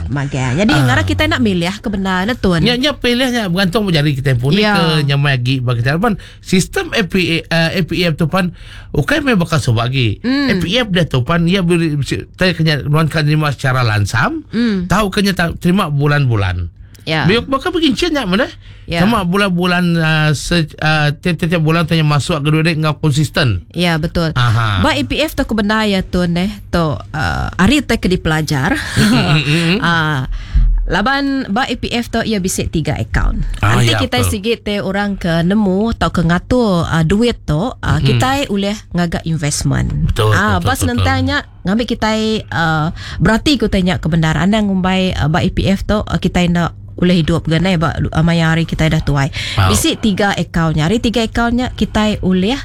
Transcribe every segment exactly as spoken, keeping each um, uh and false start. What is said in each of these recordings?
Magang. Magang. Jadi Ah. ngarap kita nak milih ke benar na tuan. Nya nya pilihnya bergantung jari kita pun Ya. ke nyamai lagi bagi kita. Pan sistem A P A, uh, A P F tu pan ukai mai bakal sobat lagi. Mm. A P F dia tu pan ia beri tai kena nuan kan terima secara langsam, Mm. tahu kena ta- terima bulan-bulan. Ya. Biar bakal begincin nya mana? Ya. Sama bulan-bulan uh, se, uh, tiap-tiap bulan tanya masuk ke duit ngau konsisten. Ya betul. Aha. Ba A P F tu aku benar ya tuan eh tu uh, hari tu ke dipelajar. Ah, laban ba A P F tu ia bisik tiga akaun. Ah, Nanti ya, kita betul. sikit te orang ke nemu atau ke ngatur uh, duit tu uh, Mm-mm. kita boleh ngagak investment. Betul, Ah, betul, bas betul, nentangnya ngambil kita uh, berarti ku tanya kebenaran anda ngumbai uh, ba A P F tu uh, kita nak boleh hidup gana ba uh, maya hari kita dah tuai. Wow. Bisik tiga akaunnya. Hari tiga akaunnya kita boleh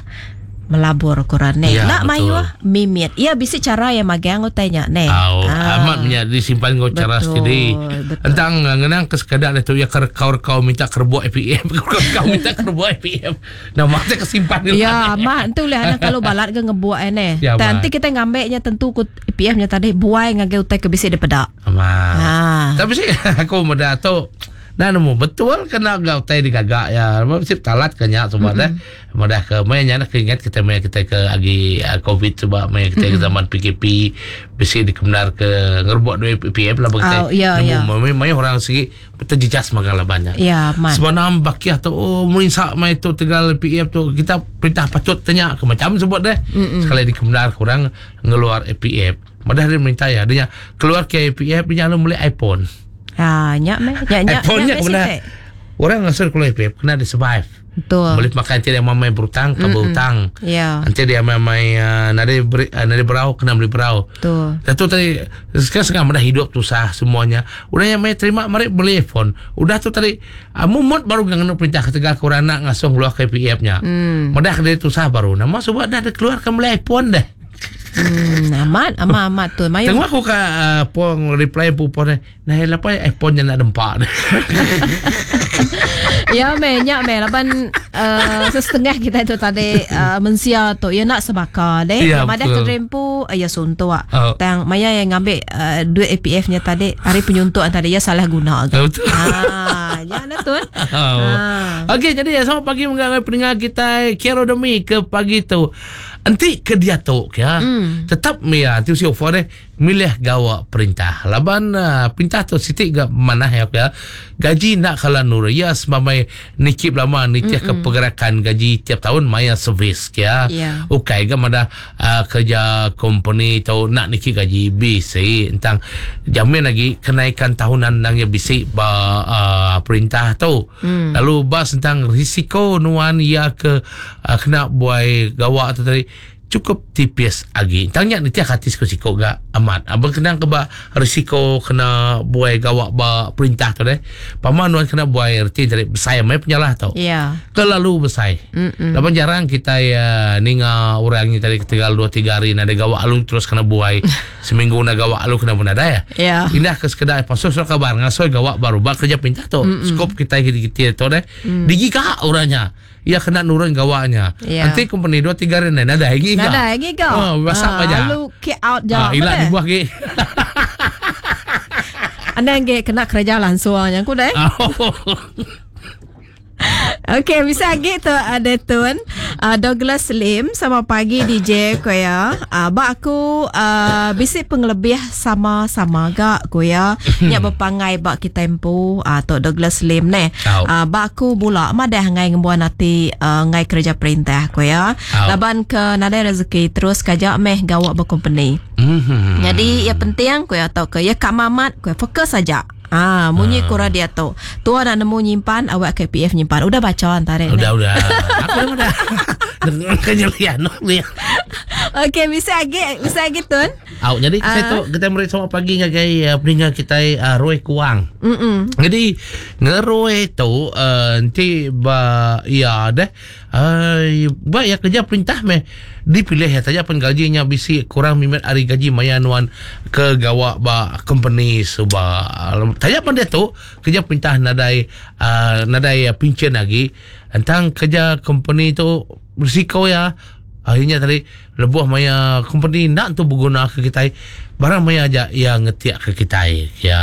melabur kurang ne. Ya, Nak betul. mayuh mimit. Ya bisik cara yang magang utainya ne. Au, Ah. amat punya disimpan kau cara Betul, sendiri. betul. Entang ngenang ke sekadar itu ya kau kau minta kerbuk A P F, kau kau minta kerbuk A P F. Nah, mata kesimpan di Ya, mak tu lah kalau balat ke ngebuat ne. Ya, Nanti mak. kita ngambeknya tentu ku A P F-nya tadi buai ngage utai ke bisik depedak. Amat. Ah. Tapi sih aku muda tu nah nemu betul kena gau tai digagak ya. Mesti talat kenya semua dah. Mudah ke mainnya nak ingat kita main kita ke agi uh, COVID sebab main kita ke zaman P K P besi dikebenar ke ngerbuk duit P P F lah bagi Oh, ya, ya. Nemu main orang segi terjejas makan labannya. Ya, mat. Sebab nam bakiah tu oh merinsak mai tu tegal P F tu kita perintah patut tanya ke macam sebut deh. Mm-mm. Sekali dikebenar kurang ngeluar A P F. Madah dia minta ya dia keluar ke A P F dia lalu beli iPhone. Ha, nyak meh. Nyak nyak. iPhone-nya nyak meh kena sitik. orang ngasur keluar A P F kena dia survive. Betul. Boleh makan nanti dia mamai berutang ke berutang. Ya. Nanti dia mamai uh, nade beri, uh, nade berau kena beli berau. Betul. Tentu tadi sekarang sekarang dah hidup susah semuanya. Udah yang mai terima mari beli iPhone. Udah tu tadi uh, mumut baru nganu perintah ketegal kurang nak ngasung keluar ke P F-nya. Hmm. Mudah dia susah baru. Nama sebab dah ada keluarkan beli iPhone dah. Hmm, amat amat amat tu. Mayu. Tengok aku ke uh, pong reply pupon nah lepas iPhone nya nak dempak. Ya meh, nyak meh laban uh, setengah kita itu tadi uh, mensia tu ya nak sebaka deh. Ya, Madah betul. terempu ya suntuk. Oh. Tang maya yang ngambil uh, duit A P F-nya tadi hari penyuntuk tadi ya salah guna. Oh, betul. Ah, ya lah tuan. Oh. Ah. Okey, jadi ya, selamat pagi mengenai pendengar kita Kero Demi ke pagi tu. Enti ke dia tu ya. Mm. Tetap ya nanti usia offer deh milih gawak perintah. Laban uh, perintah tu sitik ga mana ya ya. Gaji nak kalau nur ya semamai nikip lama nitiah ke pergerakan gaji tiap tahun maya servis ya. Ya. Ukai ga mana uh, kerja company tu nak nikip gaji bisi tentang jamin lagi kenaikan tahunan nang ya bisi ba uh, perintah tu. Mm. Lalu bas tentang risiko nuan ya ke uh, kena buai gawak tu tadi cukup tipis lagi. Tanya ni tiap hati siko-siko ga amat. Abang kena ke ba risiko kena buai gawak ba perintah tu deh. Paman nuan kena buai erti dari besar mai penyalah tu. Ya. Terlalu besar. Mm-mm. Lapan jarang kita ya ninga orang ni tadi ketinggal dua tiga hari nada gawak alu terus kena buai. Seminggu na gawak alu kena pun ada ya. Ya. Indah ke sekedar pasal surat kabar ngasoi gawak baru bak kerja perintah tu. Skop kita kita tu deh. Mm. Digigak orangnya. Ya kena nurun gawaknya. Ya. Nanti company dua tiga hari nada lagi Nada lagi kau. Oh, masak Ah, aja. Lalu kick out je. Ah, ilak dibuah ke. Anda yang kena kerja langsung yang ku deh. Oh. Okey, bisa lagi tu ada tuan uh, Douglas Lim sama pagi D J ko ya. Uh, bak aku uh, bisik pengelebih sama-sama gak ko ya. Nyak berpangai bak kita empu uh, tok Douglas Lim ne. Tau. Uh, bak aku bula madah ngai ngembuan hati uh, ngai kerja perintah ko ya. Tau. Laban ke nadai rezeki terus kajak meh gawak berkompany. Mhm. Jadi ya penting ko ya tau ke ya kak mamat ko ya, fokus saja. Ah, munyi Ah. kura dia tu. Tua nak nemu nyimpan, awak K P F nyimpan. Udah baca antara ni. Udah udah. Aku udah. Dengan kenyelian ni. Okey, bisa lagi, bisa lagi tun. Au, jadi Ah. saya tu kita meri selamat pagi ngagai uh, pendengar kita uh, Roy Kuang. Mm-mm. Jadi ngeroy tu uh, nanti ba ya deh uh, ba ya kerja perintah meh dipilih ya saja pun gajinya bisi kurang mimet hari gaji maya nuan ke gawak ba company suba. Tanya pun dia tu kerja perintah nadai uh, nadai uh, pincen lagi tentang kerja company tu risiko ya. Akhirnya tadi lebuh maya company nak tu berguna ke kita barang maya aja yang ngetiak ke kita ya.